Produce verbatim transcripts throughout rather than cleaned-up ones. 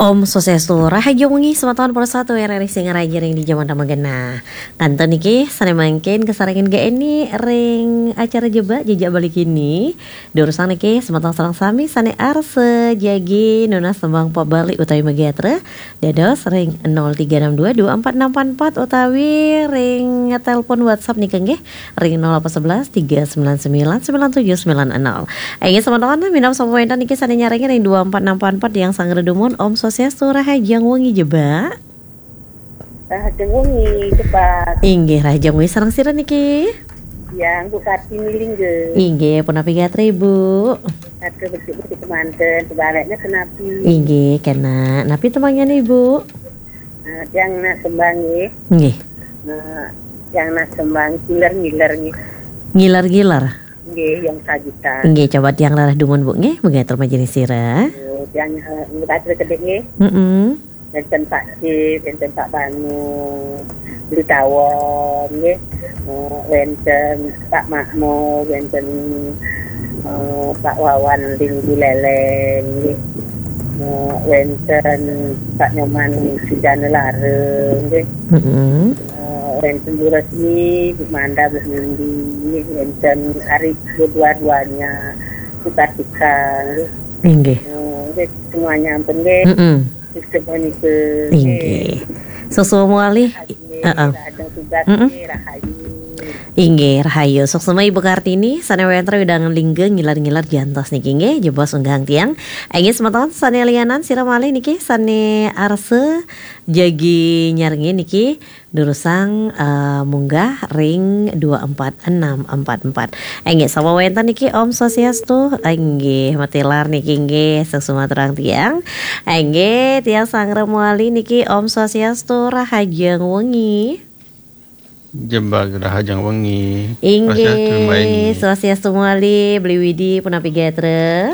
Om Swastiastu, rahajeng wengi semeton para satu R R I Singaraja ring di jaman tamagenah. Kantun niki sane mangkin kasarengin geni ring acara Jebak Jejak Bali kini. Durusang niki semeton sareng sami sane arsa jagi nunas tembang pop Bali utawi magatra, dados ring nol tiga enam dua dua empat enam empat empat utawi ring telepon WhatsApp nika nggih ring nol delapan sebelas tiga sembilan sembilan sembilan tujuh sembilan nol. Inggih semeton, minab sampun wenten niki sane nyarengin ring dua empat enam empat empat yang sanggra dumun. Om Swastiastu, rahajeng wengi Jebak. Rahajeng wengi Jebak. Inggih, rahajeng wengi sareng sira niki? Yang Bu Kartini Lingga. Inggih, punapi gatra Ibu? Gatra becik-becik kemanten, sebaliknya kenapi? Inggih, kena. Napi tembangnyan Ibu? Eh, yang nak tembang nggih. Nggih. Eh, yang nak tembang ngiler-ngiler nggih. Ngiler-ngiler? Nggih, yang sajitan. Nggih, coba tiang rarah dumun Bu nggih, mangga atur majelis sira. Oh, yang eh, nggih, kedek nggih. Mm-mm. Wenten Pak Cip, wenten Pak Banu, Beli Tawon nggih. Eh, wenten Pak Makmur, wenten eh, Pak Wawan Linggu Leleng nggih. Eh, wenten Pak Nyoman Sujana Lareng nggih. Mm-mm. Eh, wenten Bu Resmi, Bu Manda, Bu Mindi nggih. Wenten Ari, dua-duanya, Bu Kartika nggih. Inggih. Eh, nggih, semuanya ampun nggih. Mm-mm. Sistem nggih. Inggih. Suksma malih. Heeh. Ada tugas Mm-mm. Nggih, rahayu. Inggih, rahayu. Suksma Ibu Kartini, sane wenten ring wewidangan Lingga ngiler-ngiler jantos niki nggih, jebos unggahan tiang. Inggih semeton sane lianan sira malih niki sane arsa jagi nyarengin niki durusang eh, munggah ring dua empat enam empat empat. Inggih, sapa wenten niki? Om Swastiastu. Inggih, matilar niki nggih, suksma aturang tiang. Inggih, tiang sanggra malih niki. Om Swastiastu, rahajeng wengi. Jebak rahajeng wengi. Inggih, Swastiastu, Mbak Eni. Swastiastu malih, Beli Widi, punapi gatra?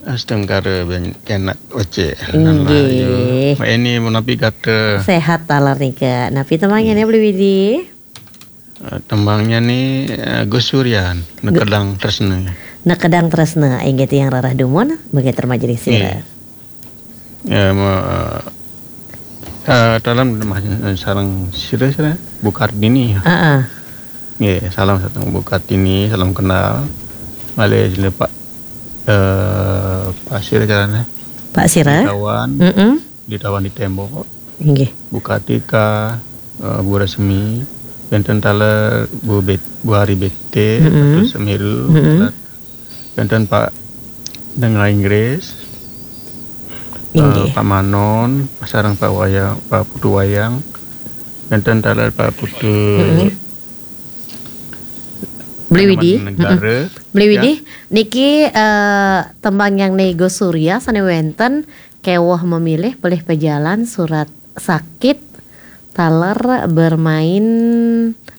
Astungkara ben kenak becik. Inggih. Mbak Eni, punapi gatra? Sehat taler nika. Napi tembangnyan ya, Beli Widi? Eh, tembangnyan ni eh, Gus Suryan, Nekedang Tresna. Nekedang Tresna, inggih tiang rarah dumun, mangga atur majelis sira. Nggih. Ya, ma, eh, eh, dalam sareng sira-sira Bu Kartini. Heeh. Nggih, salam sareng Bu Kartini, salam kenal. Malih sira Pak eh Pak sira carane? Pak sira? Di Tawan. Mm-mm. Di Tawan di Tembok. Inggih. Bu Kartika, eh, Bu Resmi, wenten taler Bu Bet, Bu Hari Bete, Mm-mm. Ratu Semiru, Mm-mm. Wenten Pak Denga Inggris, eh, Inggih. Pak Manon, sareng Pak Wayang, Pak Putu Wayang, wenten taler Pak Putu Mm-mm. Beli Widi. Negara. Mm-mm. Beli Widi, ya. Niki eh, tembangnyan Gus Surya sane wenten keweh memilih pelih pejalan surat sakit taler bermain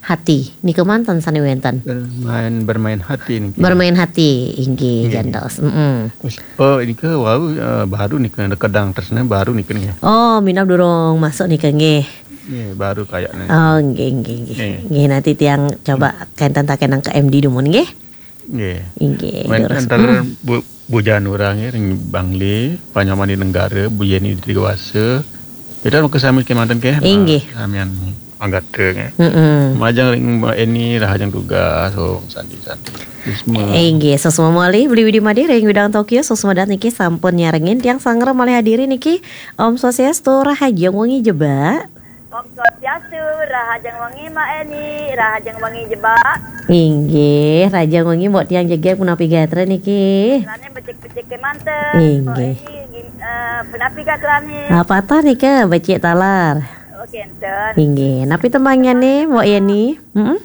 hati. Nika manten sane wenten. Bermain, bermain hati niki. Bermain hati, inggih, inggih. Jantos. Mm-mm. Wis, oh, nika wau eh, baru nika Nekedang Tresna baru nika nih. Oh, minab durung masuk nika nggih. Nggih, baru kayaknya. Oh, nggih, nggih, nggih. Nggih. Nggih, nanti tiang coba kenten takenang ke M D dumun nggih. Nggih. Inggih, wenten terus. Taler Mm. Bu, Bu Janura nggih, ring Bangli, Pak Nyoman di Negara, Bu Yeni di Dewasa. Kita mau ke sami kemanten ke? Inggih. Nah, samian anggota nggih. Mm-mm. Majeng ring Mbak Eni, rahajeng tugas, Om Santi Santi. Bisma. Inggih, suksma malih Beli Widi Made ring wewidangan Tokyo, suksma dhat niki sampun nyarengin tiang sanggra malih hadiri niki. Om Swastiastu, rahajeng wengi Jebak. Om Swastiastu, rahajeng wengi Mbak Eni, rahajeng wengi Jebak. Inggih, rahajeng wengi Mbok tiang jegeg, punapi gatra niki? Gatrane becik-becik kemanten. Inggih. Mbok Eni, gim- eh, punapi gatrane? Ah, patah nika becik taler. Oh, kenten. Inggih, napi tembangnyan nih, Mbok Yeni? Mm-mm.